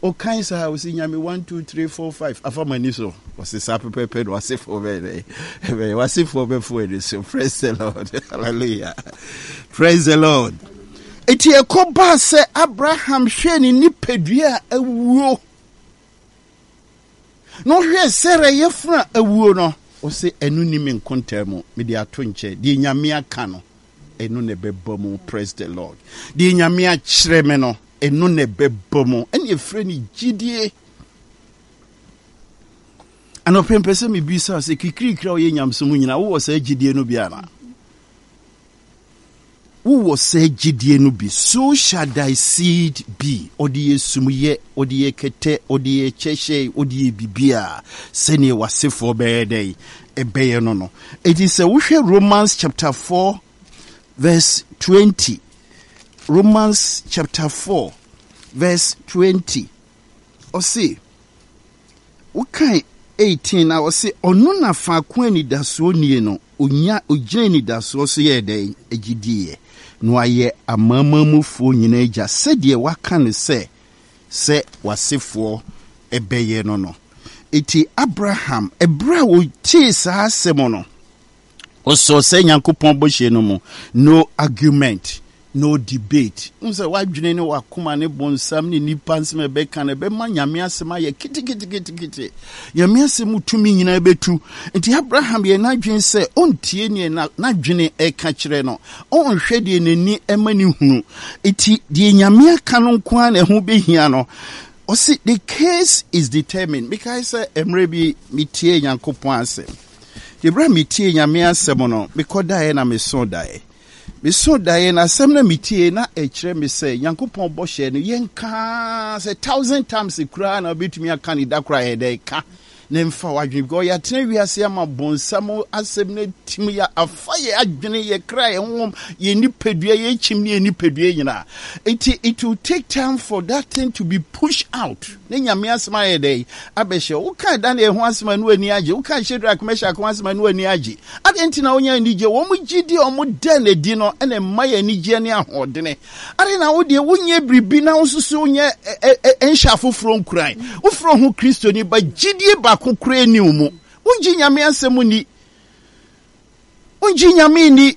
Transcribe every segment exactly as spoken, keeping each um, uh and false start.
Ɔkan saa, ɔsi Nyame one two three four five afa m'ani so. Ɔsi saa pɛpɛpɛ na wasefoɔ bɛyɛ dɛ ɛbɛyɛ wasefoɔ bɛfo ani so. Praise the Lord, hallelujah, praise the Lord. Eti ɛkɔ baa sɛ Abraham hwɛ ne nipadua a awuo na ɔhwɛ Sarah yɛfunu a awuo no, ɔsɛ ɛno ni me nkontaa mu, mede ato nkyɛn. Deɛ Nyame aka no, ɛno na ɛbɛba mu. Praise the Lord. Deɛ Nyame akyerɛ me no, ɛno na ɛbɛba mu. Ɛne ɛfrɛ no gyidie. Anɔpɛ mpɛ sɛ mebisa sɛ kikirikiri a woyɛ nyamesom nyinaa, wowɔ saa gyidie no bi anaa? Wowɔ saa gyidie no bi? So shall thy seed be. Ɔde yɛ sumyɛ, ɔde yɛ kɛtɛ, ɔde yɛ kyɛhyɛ, ɔde yɛ biribiaa sɛneɛ w'asefoɔ bɛyɛ dɛn ɛbɛyɛ no no. Enti sɛ wohwɛ Romans chapter four verse twenty, Romans chapter four verse twenty, ɔse, wokan eighteen na ɔse, ɔno na faako anidasoɔ nie no, onya ogyina anidasoɔ so yɛɛ dɛn agyidiiɛ, na wayɛ amanamanmufoɔ nyinaa agya, sɛdeɛ waka no sɛ sɛ w'asefoɔ ɛbɛyɛ no no. Eti Abraham, ɛberɛ a ɔtee saa asɛm no, ɔsɔɔ sɛ Nyankopɔn bɔhyɛ no mu. No argument, no debate. N sɛ wadwene ne wakoma ne bonsam ne nipa nsɛm ɛbɛka no ɛbɛma Nyame asɛm ayɛ keteketekete. Nyame asɛm tumi nyinaa bɛtu. Nti Abraham yɛ n'adwene sɛ ɔntie neɛ n'adwene ɛka kyerɛ no, ɔnhwɛ deɛ n'ani ɛma ne hunu. Nti deɛ Nyame aka no nko ara na ɛho bɛhia no. Ɔse the case is determined. Mekae sɛ mmerɛ bi metie Nyankopɔn asɛm. Nti berɛ a metie Nyame asɛm no, mekɔdaeɛ na meso daeɛ. Meso daeɛ na asɛm na metie na ɛkyerɛ me sɛ Nyankopɔn bɔhyɛ no yɛnka sɛ thousand times koraa na wobɛtumi aka ne da koraa yɛ dɛ ka na mfa w'adwene, because yɛatena wiase ama bonsam asɛm no atim yɛ afa yɛ adwene, yɛ kra, yɛ honhom, yɛ nipadua, yɛ kyim ne yɛ nipadua nyinaa. Nti it will take time for that thing to be pushed out. Ne Nyame asɛm ayɛ dɛ abɛhyɛ. Woka Daniel ho asɛm a no ani agye, woka Shadrach Meshach ho asɛm a no ani agye. Adɛn nti na wonya anigye? Wɔn gyidi a wɔn da n'adi no ɛna ɛma yɛ anigyeɛ ne ahoɔdene. Adɛn na wo deɛ wonyɛ biribi na wo nso so wonyɛ nhyɛ afoforɔ nkuran? Wofrɛ ho Kristoni ba, gyidie baako koraa ni wo mu. Wongye Nyame asɛm nni, wongye Nyame nni.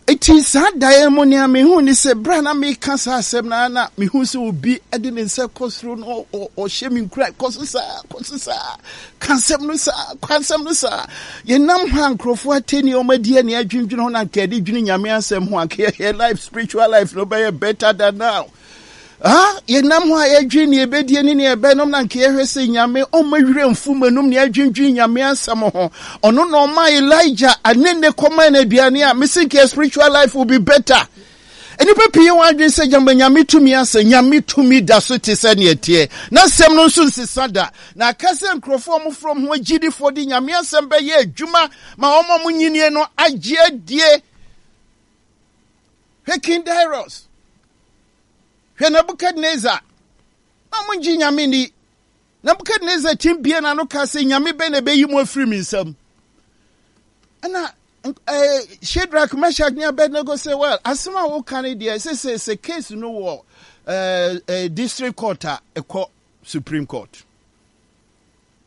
Eti saa daeɛ mu nea mehu ne sɛ berɛ a na meka saa asɛm no na mehu sɛ obi de ne nsa kɔ soro no ɔhyɛ me nkuran, kɔ so saa, kɔ so saa, ka asɛm no saa, ka asɛm no saa. Yɛnam hɔ a nkurɔfoɔ atɛni wɔn adi ani adwendwene ho na anka yɛde dwene Nyame asɛm ho, anka yɛ life, spiritual life no bɛyɛ better than now. Ah, yɛnam hɔ a yɛdwene nea yɛbɛdie ne nea yɛbɛnom na anka yɛhwɛ sɛ Nyame ɔmma werɛ mfu m'anum nea yɛdwendwene Nyame asɛm ho. Ɔno na ɔma Elijah anene kɔma no aduane a mese nka spiritual life will be better. Nnipa pii wɔn adwene sɛ gyama Nyame tumi asɛ. Nyame tumi da so te sɛ nea ɛteɛ, na asɛm no nso nsesa da. Na aka sɛ nkurɔfoɔ a wɔfrɛ wɔn ho agyidifoɔ de Nyame asɛm bɛyɛ adwuma ma wɔn a wɔnyinie no agye adie. Hwɛ King Darius, hwɛ Nebuchadnezzar, na wɔn ngye Nyame ni. Nebuchadnezzar tim bie n'ano ka sɛ Nyame bɛn na ɛbɛyi mu afiri mi nsam. Ɛna eh, Shadrach, Meshach ne Abednego sɛ, well, asɛm a woka no deɛ sɛ sɛ sɛ case no wɔ eh, eh, district court a ɛkɔ Supreme Court.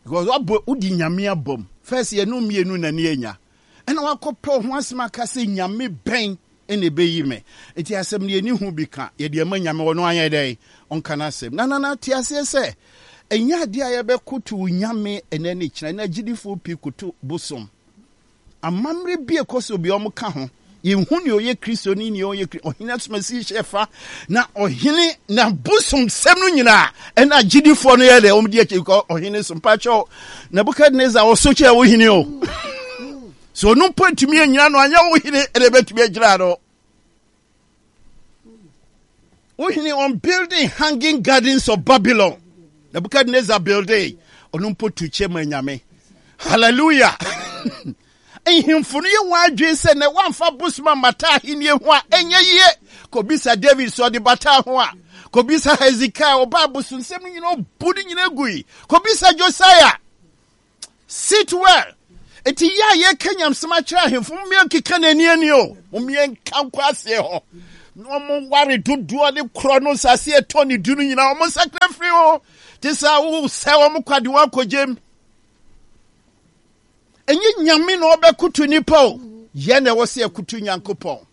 Because wabɔ wodi Nyame abom. First yɛ no mmienu na ne anya. Ɛna wakɔpɛ ho asɛm aka sɛ Nyame bɛn ɛna ɛbɛyi me. Nti asɛm no yɛni ho bi ka, yɛde ama Nyame, ɔno anyɛ dɛn ɔnka n'asɛm. Na nana te aseɛ sɛ ɛnyɛ adeɛ a yɛbɛkoto Nyame ɛnɛ ne kyena. Na agyidifoɔ pii koto bosom. Amammerɛ bi ɛkɔ so bi ɔmo ka ho. Yɛnhu nea ɔyɛ Kristo ne nea ɔyɛ Kristo. Ɔhene asomasi hyɛ fa na ɔhene na bosom sɛm no nyinaa ɛna agyidifoɔ no yɛ dɛ ɔmo di akyi kɔ ɔhene so. Mpakyɛw, Nebukadnezar ɔso kyɛ wo hene o. So ɔno mpo ntumi anyina no, anyɛ wo hene ɛna ɛbɛtumi agyina no. Wo hene on building hanging gardens of Babylon. Nebuchadnezzar building. Ɔno mpo tu kyɛ ma Nyame. Hallelujah. Nhemfo no yɛ wɔn adwene sɛ na wɔamfa bosom ammata ahenni ho a ɛnyɛ yie. Kɔbisa David sɛ ɔde bata ho a. Kɔbisa Hezekiah, ɔbaa bosonsɛm no nyinaa ɔbu no nyinaa gui. Kɔbisa Josiah. Sit well. Eti yɛ a yɛka nyamsɛm akyerɛ ahemfo, mommea nkeka n'ani ani o. Mommea nka nkɔ aseɛ hɔ. Na wɔn ware dodoɔ ne korɔ no nsase ɛtɔ ne du no nyinaa wɔn nsakra firi ho. Te sɛ wosɛ wɔn kwa de wɔn akɔgyem. Ɛnyɛ Nyame na ɔbɛkoto nipa o. Yɛn na ɛwɔ sɛ yɛkoto Nyankopɔn.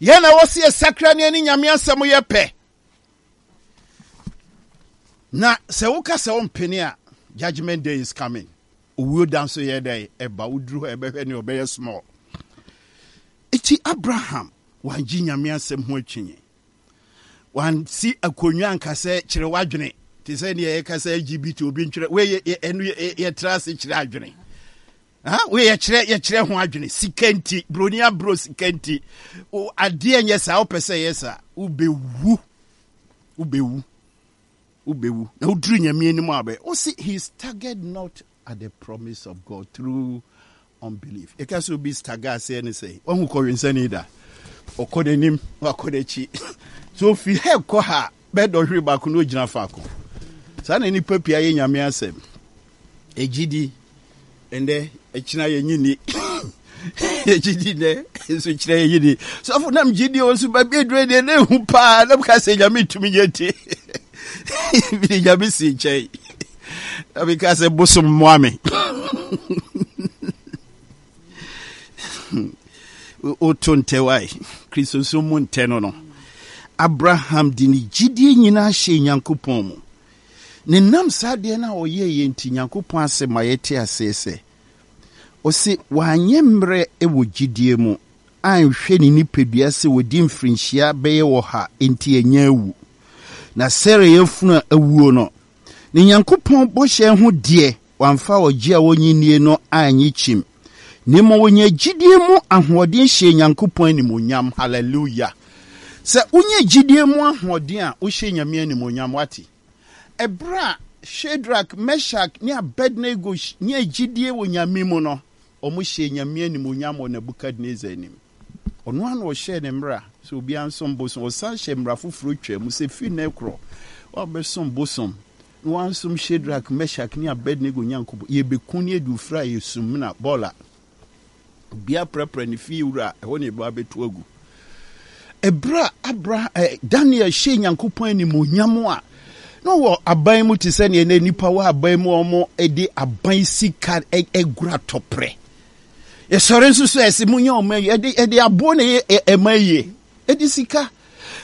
Yɛn na ɛwɔ sɛ yɛsakra ne ɛne Nyame asɛm yɛ pɛ. Na sɛ woka sɛ wompene a, judgment day is coming. Owuo da nso yɛ dɛn? Ɛba. Woduru hɔ a ɛbɛhwɛ nea ɔbɛyɛ small. Eti Abraham wangye Nyame asɛm ho akyinnye. Wansi akonnwa anka sɛ kyerɛ w'adwene te sɛ nea yɛka sɛ L G B T obi ntwerɛ wei ɛno yɛtra ase kyerɛ adwene. Wei yɛkyerɛ yɛkyerɛ ho adwene. Sika nti broni aburo sika nti adeɛ nyɛ saa wopɛ sɛ yɛ saa, wobɛwu, wobɛwu, wobɛwu. Na woduru Nyame anim a bɛ ɔsi he staggered not at the promise of God through unbelief. Ɛka sɛ obi stagger aseɛ ne sɛ wahu kɔwensani da ɔkɔ n'anim wakɔ n'akyi so ofi ha kɔ ha bɛɛ dɔhwere baako na ogyina faako. Saa na nipa pii ayɛ Nyame asɛm. Ɛgyidi ɛndɛ ɛkyina yɛnyi ni, yɛgyidi nɛ nso kyerɛ yɛnyi ni. Sɔfo nam gyidi o nso baabi aduro deɛ na ehu paa na meka sɛ Nyame tumi nyɛ nti mede Nyame si nkyɛn na meka sɛ bosom mmoa me. Woto ntɛ wae Kristosom mu ntɛ no no Abraham de ne gyidie nyinaa hyɛ Nyankopɔn mu. Ne nam saa adeɛ no a ɔyɛeɛ nti, Nyankopɔn asɛm ma yɛte aseɛ sɛ, ɔse, wanyɛ mmerɛ wɔ gyidie mu, anhwɛ ne nipadua sɛ wadi mfirinhyia bɛyɛ ɔha enti anya awu, na Sara yafunu a awuo no, ne Nyankopɔn bɔhyɛ ho deɛ, wamfa ɔgye a ɔnnye nnie no annye kyim, na mmom ɔnyaa gyidie mu ahoɔden hyɛɛ Nyankopɔn animuonyam. Hallelujah! Sɛ wonya gyidie mu ahoɔden a, wohyɛ Nyame animuonyam, wate? Ɛberɛ a Shadrach, Meshach ne Abednego nyaa gyidie wɔ Nyame mu no, wɔhyɛɛ Nyame animuonyam wɔ Nebuchadnezzar anim. Ɔno ara na ɔhyɛɛ ne mmara sɛ obiara nsom bosom. Ɔsan hyɛɛ mmara foforɔ twaa mu sɛ firi nnɛ rekorɔ, woabɛsom bosom na woansom Shadrach, Meshach ne Abednego Nyankopɔn, yɛbɛku ne adu firi a yɛ sumina bɔɔla. Obiara prapra ne fie wura a, ɛhɔ na yɛbɛba abɛto agu. Ɛberɛ a Abraham, eh, Daniel hyɛɛ Nyankopɔn animuonyam a, na ɔwɔ aban mu te sɛ neɛ na nnipa wɔ aban mu a wɔde aban sika agura tɔprɛ. Yɛsɔre nso so ɛsɛ mu nyɛ ɔma yi, ɛde ɛde aboɔ na ɛyɛ ɛma yie, ɛde sika.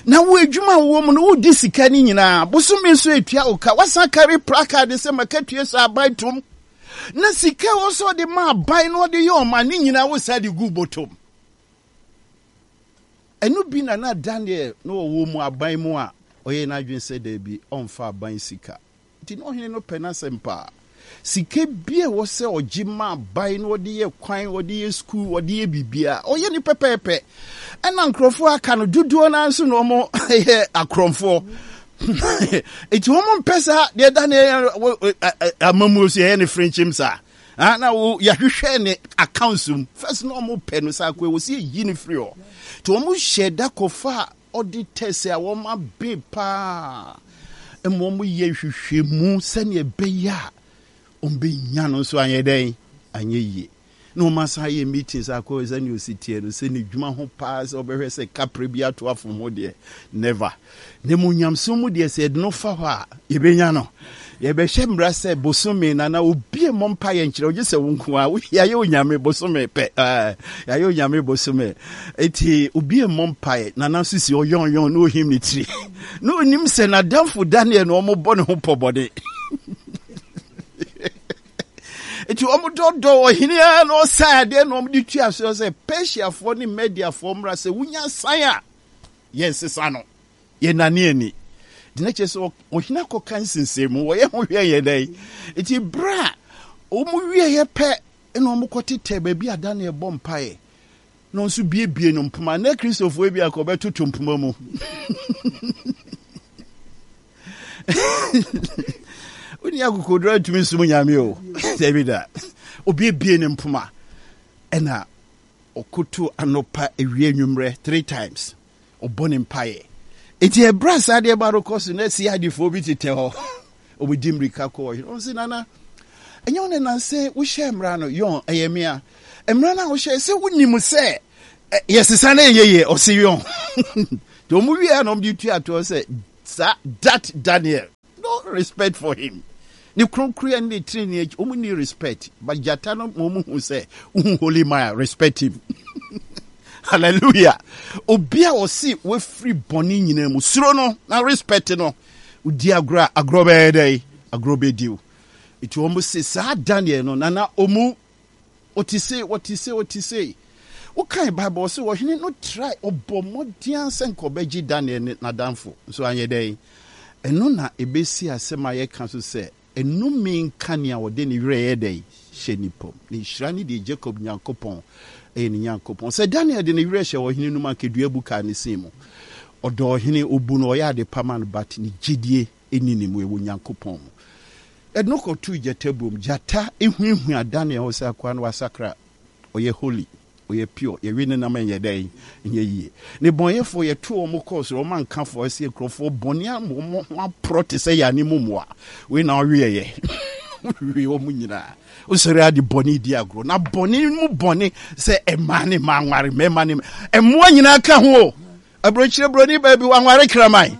Na wo adwuma a wowɔ mu no, wodi sika no nyinaa. Bosome nso etua wo ka. Wasan kari placard sɛ makatua sɛ aban tom. Na sika ɛwɔ sɛ ɔde ma aban na ɔde yɛ ɔma ne nyinaa wo saa de gu bɔtɔm. Ɛno bi na na Daniel na ɔwɔ mu aban mu a ɔyɛ n'adwene sɛ daabi, ɔmfa aban sika. Nti na ɔhene no pɛ n'asɛm paa. Sika bi a ɛwɔ sɛ ɔgye ma aban na ɔde yɛ kwan, ɔde yɛ sukuu, ɔde yɛ biribiara, ɔyɛ ne pɛpɛɛpɛ. Ɛna nkurɔfoɔ aka no dodoɔ no ara nso na wɔn yɛ akorɔmfoɔ. Nti wɔn mpɛ saa deɛ Daniel amamuo so yɛyɛ ne frenkyim saa. Ah, na wo yɛahwehwɛ ne accounts mu. First na wɔn pɛ no saa kɔ ɛwɔ sɛ yɛyi no firi hɔ. Nti wɔn hyɛ da kɔfa auditors a wɔn abe paa ma wɔn yɛ nhwehwɛmu sɛnea ɛbɛyɛ a wɔn bɛnya no nso anyɛ dɛn anyɛ yie. Na wɔn asan ayɛ meetings akɔ sɛnea osi teɛ no sɛ ne dwuma ho paa sɛ ɔbɛhwɛ sɛ kapre bi ato afom ho deɛ, never. Na mu nyamsom mu deɛ, sɛ yɛde no fa hɔ a yɛbɛnya no. Yɛbɛhyɛ mmara sɛ bosome na na obi mmɔ mpa yɛ nkyerɛ ogye sɛ wo nko a yɛayɛ Onyame bosome pɛ, yɛayɛ Onyame bosome eti obi mmɔ mpa yɛ. Nana nso si ɔyɔnyɔn na ohim ne tiri na onim sɛ n'adamfo Daniel na wɔn bɔ ne ho pɔ bɔne. Nti wɔn dɔdɔ ɔhene ara na ɔsan adeɛ na wɔn de tua so sɛ Persiafoɔ ne Mediafoɔ mmra sɛ wonya san a yɛn sesa no yɛnane ani nti na kyerɛ sɛ ɔhene akɔka nsensɛn mu wɔyɛ ho hwɛ yɛ dɛn. Nti berɛ a wɔn wieɛ pɛ na wɔn kɔtetɛ baabi a Daniel bɔ mpaeɛ na ɔnso biebie no mpoma na Kristofoɔ bi akɔ bɛtoto mpoma mu. Wonni akokoduro antumi nsom Nyame o, dabi da. Obiebie ne mpoma ɛna ɔkoto anɔpa, awia, anwummerɛ three times ɔbɔ ne mpaeɛ. Enti ɛberɛ a saa adeɛ ba no kɔ so na si adefoɔ bi tetɛ hɔ, ɔmudi mmirika kɔ ɔhene ɔno sɛ, nana, ɛnyɛ wo ne nansɛ wohyɛ mmara no yɔn ɛyɛ mea mmara no a wohyɛ sɛ wonim sɛ Yɛsesa no ɛnyɛ yie. Ɔse yɔn nti ɔmo wie a na ɔmo de tua toɔ sɛ saa that Daniel, no respect for him, ne kronkron ne ne tirinwi akyi, ɔmo ni respect. But gyata no ma ɔmo hu sɛ wohu holy man, respect him. Hallelujah. Obi a ɔse wafiri bɔne nyinaa mu, suro no na respect no. Wodi agorɔ a, agorɔ bɛyɛ dɛ, agorɔ bɛdi wo. Nti wɔn se saa Daniel no nana ɔmu ɔte sei, ɔte sei, ɔte sei. Wokan Bible, ɔse ɔhene no try, ɔbɔ mmɔden sɛ nka ɔbɛgye Daniel ne n'adamfo nso, anyɛ dɛn. Ɛno na ɛbɛsi asɛm a yɛka so sɛ ɛnome nka nea ɔde ne werɛ yɛ dɛn hyɛ nipa mu, na nhyira ne deɛ Jacob Nyankopɔn ɛyɛ ne Nyankopɔn. Sɛ Daniel de ne werɛ hyɛ ɔhene no mu, anka bu kaa ne sin mu. Ɔdɔ ɔhene, ɔbu no, ɔyɛ ade pa ma no, but ne gyidie ɛni ne mu, ɛwɔ Nyankopɔn mu. Ɛno kɔtoo gyata buom. Gyata ehuahua Daniel hɔ sɛ akoa no wasakra, ɔyɛ holy, ɔyɛ pure, yɛwe ne nam ɛnyɛ dɛn, ɛnyɛ yie. Ne bɔnyɛfoɔ yɛto wɔn kɔɔ soro, wɔn ankafoɔ ɛsɛ nkurɔfoɔ bɔne ama wɔn ho aporɔ te sɛ yɛane mu mmoa. Wei na ɔweɛyɛ we wɔn nyinaa. Wosɔre ade bɔne di agorɔ na bɔne mu bɔne sɛ ɛmaa ne ma anware mmarima ne mmoa nyinaa ka ho o. Aburokyire buroni baabi wanware kraman,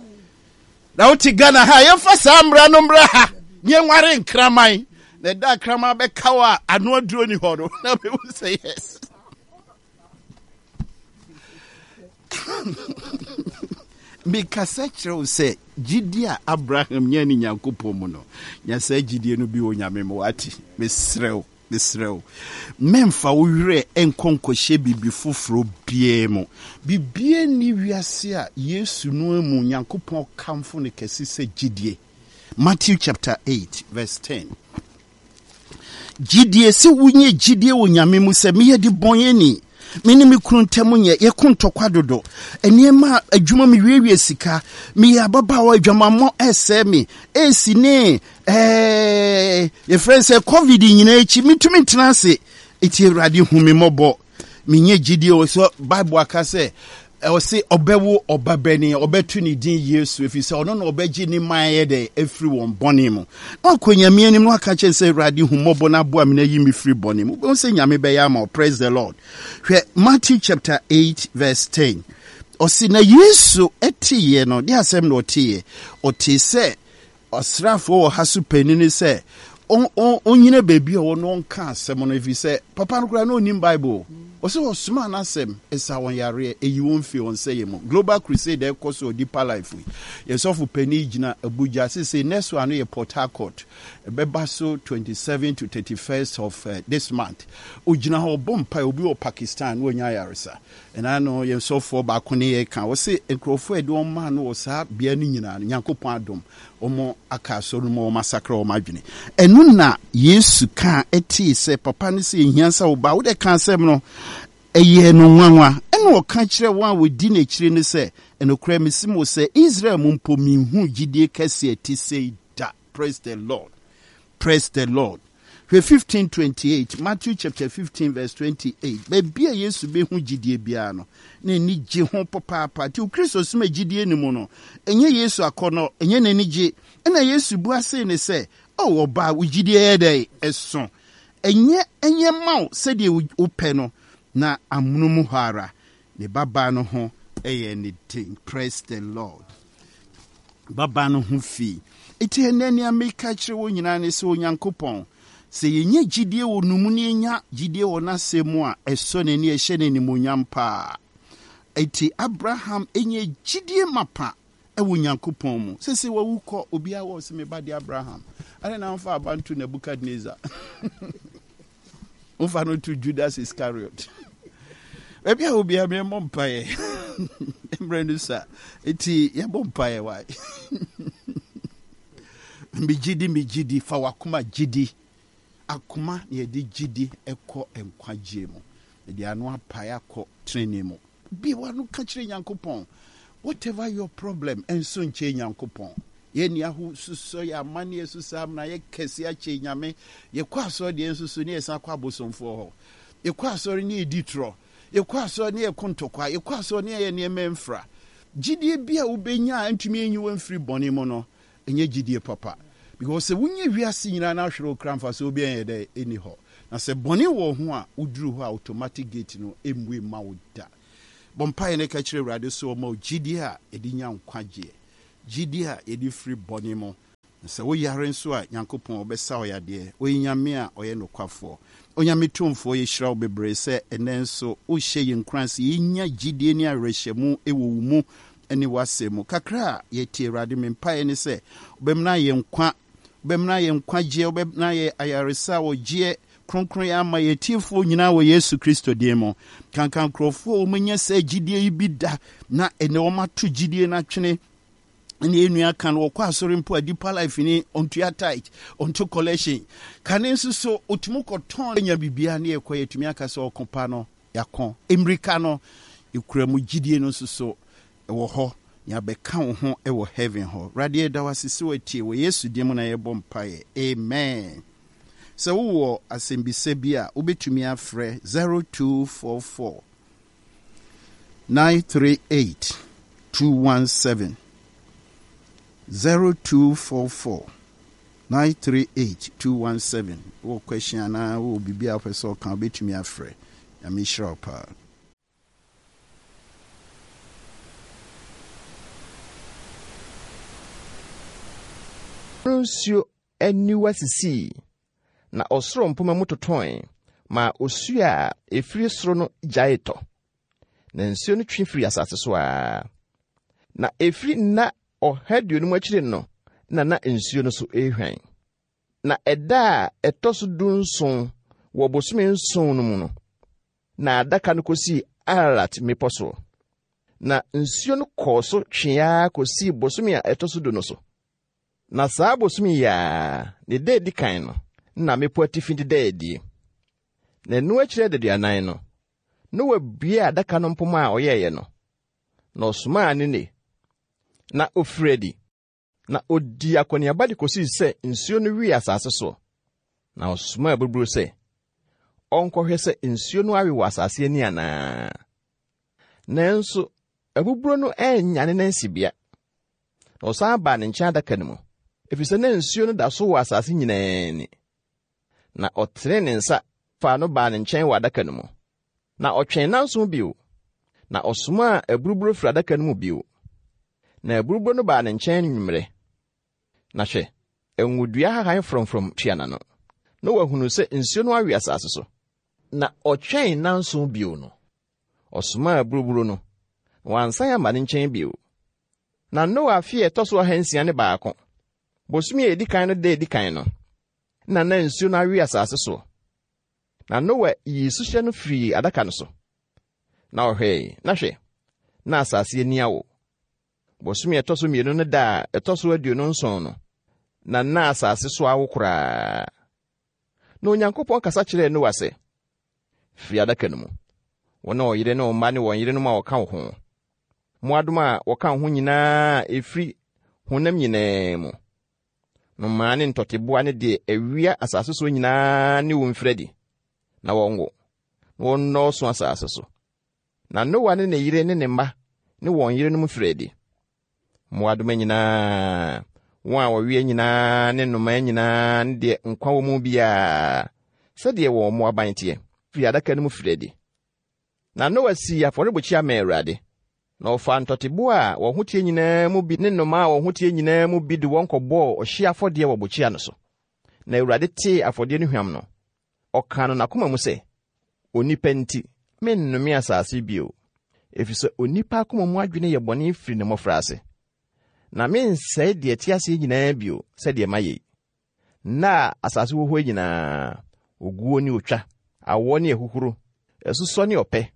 na wote Ghana ha, yɛmfa saa mmara no mmra ha ne yɛnware nkraman, na ɛda kraman bɛka wo a ano aduro ni hɔ no na bɛhu sɛ yes. Mekasa kyerɛ wo sɛ gyidie a Abraham nya ne Nyankopɔn mu no, nya saa gyidie no bi wɔ Nyame mu. Wate? Mesrɛ wo, mesrɛ wo, mɛmfa wo werɛ nkɔ nkɔhyɛ biribi foforɔ biara mu. Biribiara nni wiase a Yesu no mu Nyankopɔn kamfo no kɛse sɛ gyidie. Matthew chapter eight verse ten. Gyidie, sɛ wonyɛ gyidie wɔ Nyame mu sɛ meyɛ de bɔnyɛni, me ne me kunu ntam nyɛ, yɛko ntɔkwa dodo, nneɛma adwuma me wiewie sika, meyɛ ababaawa, adwamammɔ ɛsɛe me, esi ne ɛɛ yɛfrɛ sɛ COVID nyinaa akyi metumi ntena ase, eti Awurade hu me mmɔbɔ. Menyɛ gyidie wɔ sɛ Bible aka sɛ ɔse ɔbɛwo ɔba bɛni, ɔbɛto ne din Yesu, ɛfiri sɛ ɔno na ɔbɛgye ne man yɛ dɛ afiri wɔn bɔne mu. Na wakɔ Nyame anim na waka kyerɛ sɛ Awurade hu mmɔbɔ na aboa me na yi me firi bɔne mu. Wobɛhu sɛ Nyame bɛyɛ ama wo. Praise the Lord. Hwɛ Matthew chapter eight verse ten. Ɔse na Yesu ɛteeɛ no, de asɛm na ɔteeɛ. Ɔtee sɛ ɔsraafoɔ wɔ ha so panin sɛ ɔnyina baabi a ɔwɔ na ɔnka asɛm no, ɛfiri sɛ papa no koraa na ɔnim Bible. Ɔsɛ ɔsomaa n'asɛm, ɛsa wɔn yareɛ, ɛyi wɔn firi wɔn sɛeɛ mu. Global Crusade ɛkɔ so Deeper Life yi, yɛn sɔfo panin gyina Abuja sesei. Next one no yɛ Port Harcourt, ɛbɛba so twenty-seven to thirty-first of uh, this month. Ɔgyina hɔ ɔbɔ mpae, obi wɔ Pakistan na ɔnya ayaresa. Ɛna no yɛn sɔfoɔ baako ne yɛ ka, ɔse nkurɔfoɔ a ɛde wɔn maa no wɔ saa bea no nyinaa no, Nyankopɔn adom, wɔn aka asɔre no mu, wɔn asakra wɔn adwene. Ɛno na Yesu kaa ɛtee sɛ papa no sɛ ehia sɛ ɔba wode ka asɛm no, ɛyɛɛ no nwanwa. Ɛna ɔka kyerɛ wɔn a wɔdi n'akyiri no sɛ, ɛnokorɛ mese mo sɛ Israel mu mpo menhuu gyidie kɛseɛ ɛte sei da. Praise the Lord. Praise the Lord. Hwɛ fifteen twenty-eight, Matthew chapter fifteen verse twenty-eight. Baabi a Yesu bɛhu gyidie biara no, na ani gye ho papaapa. Nti Kristo som a gyidie no mu no, ɛnyɛ Yesu akɔnnɔ, ɛnyɛ n'ani gye. Ɛna Yesu bua sei ne sɛ, "O ɔbaa, wo gyidie yɛ dɛn? Ɛso. Ɛnyɛ ɛnyɛ ma wo sɛdeɛ wopɛ no." Na amono mu hɔ ara, ne babaa no ho ɛyɛ ne den. Praise the Lord. Babaa no ho fii. Enti ɛnnɛ nea meka kyerɛ wo nyinaa ne sɛ Onyankopɔn, sɛ yɛnya gyidie wɔ no mu na yɛnya gyidie wɔ n'asɛm mu a, ɛsɔ n'ani, ɛhyɛ no animuonyam paa. Enti Abraham nya gyidie mapa ɛwɔ Onyankopɔn mu. Sese wawu kɔ, obiara wɔ sɛ me ba de Abraham. Adɛn na mfa aba nto Nebukadnezar? Mfa no to Judas Iscariot. Baabi a obiara mɛmmɔ mpaeɛ. Mmerɛ no sa. Enti yɛbɔ mpaeɛ wae. Megye di, megye di, fa w'akoma gye di. Akoma na yɛde gye di ɛkɔ nkwagyeɛ mu. Yɛde ano apae akɔ tenenee mu. Bie w'ano ka kyerɛ Nyankopɔn. Whatever your problem, ɛnso nkyɛn Nyankopɔn. Yɛn ni aho susɔ yɛ amanneɛ so saa amena yɛ kɛse akyɛ Nyame. Yɛkɔ asɔre deɛ nso so ne yɛsan kɔ abosomfoɔ hɔ. Yɛkɔ asɔre ne yɛdi torɔ. Yɛkɔ asɔre ne yɛko ntɔkwa. Yɛkɔ asɔre ne yɛyɛ nneɛma mfra. Gyidie bi a wobɛnya a ntumi enyi wo mfiri bɔne mu no, ɛnyɛ gyidie papa. Because sɛ wonya wiase nyinaa na ahwere wo kra, mfasoɔ bi ɛnyɛ dɛ ɛni hɔ. Na sɛ bɔne wɔ ho a, woduru hɔ a automatic gate no ɛmmue ma wo da. Bɔ mpaeɛ no ka kyerɛ Awurade sɛ ɔma wo gyidie a yɛde nya nkwagyeɛ, gyidie a yɛde firi bɔne mu. Sɛ woyare nso a, Nyankopɔn ɔbɛsa wo yadeɛ. Ɔyɛ Nyame a ɔyɛ nokwafoɔ. Onyame Tumfoɔ, yɛhyira wo bebree sɛ ɛnɛ nso wohyɛ yɛn nkuran sɛ yɛnya gyidie ne awerɛhyɛmu wɔ wo mu ne w'asɛm mu. Kakra a yɛtie, Awurade, me mpaeɛ ne sɛ wobɛmena yɛn nkwa, wobɛmena yɛn nkwagyeɛ, wobɛmena yɛ ayaresa a wɔgyeɛ kronkron yɛ ama yɛtiefoɔ nyinaa wɔ Yesu Kristo din mu. Kankan nkurɔfoɔ a wɔanya sɛ gyidie yi bi da na ɛnɛ wɔmato gyidie no atwene ne yɛn ka no, wɔkɔ asɔre mpo a, Deeper Life ni, ɔntua tithe, ɔnto collection kane nso so ɔtumi kɔtɔn nya biribiara ne yɛkɔ. Yɛtumi aka sɛ ɔko pa no yɛakɔ, mmirika no ɛkura mu, gyidie no nso so ɛwɔ hɔ, yɛabɛka wo ho ɛwɔ heaven hɔ. Awurade, yɛda wo ase sɛ watie. Wɔ Yesu din mu na yɛbɔ mpaeɛ, amen. Sɛ wowɔ asɛmbisa bi a, wobɛtumi afrɛ zero two four four nine three eight two one seven, zero two four four nine three eight two one seven. Wɔ question anaa wɔ biribi a wopɛ sɛ ɔka, wobɛtumi afrɛ. Nyame hyira wo paa. Nsuo aniwa sisii na ɔsoro mpoma mu totɔe ma osuo a ɛfiri soro no gyae tɔ, na nsuo no twe firi asase so a na ɛfiri nna ɔha aduonum akyiri no na na nsuo no so ɛrehwan. Na ɛda a ɛtɔ so dunson wɔ bosome nson no mu no na adaka no kosii Ararat mmepɔ soɔ. Na nsuo no kɔɔ so tweaa kosii bosome a ɛtɔ so du no so. Na saa bosome yi a ne da edi kan no na mmepɔ atifi deda adie. Na ɛno akyiri adaduanan no, Noa buee adaka no mpoma a ɔyɛeɛ no, na ɔsomaa ne nne, na ofiri adi, na odii akɔneaba de kosii sɛ nsuo no wee asase soɔ. Na ɔsomaa aburuburo sɛ ɔnkɔhwɛ sɛ nsuo no awe wɔ asase ani anaa. Nanso abuburo no annya ne nansibea. Na ɔsan baa ne nkyɛn adaka no mu, efisɛ na nsuo no da so wɔ asase nyinaa ani. Na ɔtenee ne nsa faa no baa ne nkyɛn wɔ adaka no mu. Na ɔtwɛn nnanson bio, na ɔsomaa aburuburo firi adaka no mu bio. Na aburuburo no baa ne nkyɛn anwummerɛ. Na hwɛ, ngodua hahan frɔmfrɔm tua n'ano. Na wahunu sɛ nsuo no awe asase so. Na ɔtwɛn nnanson bio no, ɔsomaa aburuburo no, na wansan amma ne nkyɛn bio. Na Noa afe a ɛtɔ so ahansia ne baako, bosome a edi kan no da edi kan no, na na nsuo no awe asase soɔ. Na Noa yii suhyɛ no firii adaka no so. Na ɔhwɛe, na hwɛ, na asase ani awo. Bosome a ɛtɔ so mmienu no da a ɛtɔ so aduonu nson no, na na asase so awo koraa. Na Onyankopɔn kasa kyerɛɛ Noa sɛ, "Firi adaka no mu, wo ne ɔyere ne wo mma ne wɔn yerenom a wɔka wo ho, mmoadoma a wɔka wo ho nyinaa a ɛfiri honam nyinaa mu, nnomaa ne ntɔteboa ne deɛ ɛwea asase so nyinaa ne wo mfiri adi, na wɔnwo, na wɔnnɔɔso asase so." Na Noa ne ne yere ne ne mma ne wɔn yerenom firi adi. Mmoadoma nyinaa, wɔn a wɔwea nyinaa ne nnomaa nyinaa ne deɛ nkwa wɔ mu biara, sɛdeɛ wɔn mmoaban teɛ, firi adaka no mu firi adi. Na Noa sii afɔrebukyia maa Awurade. Na ɔfaa ntɔteboa a wɔn ho teɛ nyinaa mu bi ne nnomaa a wɔn ho teɛ nyinaa mu bi de wɔn kɔbɔɔ ɔhyeɛ afɔdeɛ wɔ bukyia no so. Na Awurade tee afɔdeɛ no hwam no, ɔkaa no n'akoma mu sɛ, "Onipa nti, mennome asase bio, efisɛ onipa akoma mu adwene yɛ bɔne firi ne mmɔfraase. Na mensɛe deɛ ɛte aseɛ nyinaa bio sɛdeɛ mayɛ yi. Nna a asase wɔ hɔ nyinaa, oguo ne otwa, awɔ ne ahuhuro, asusɔ ne ɔpɛ,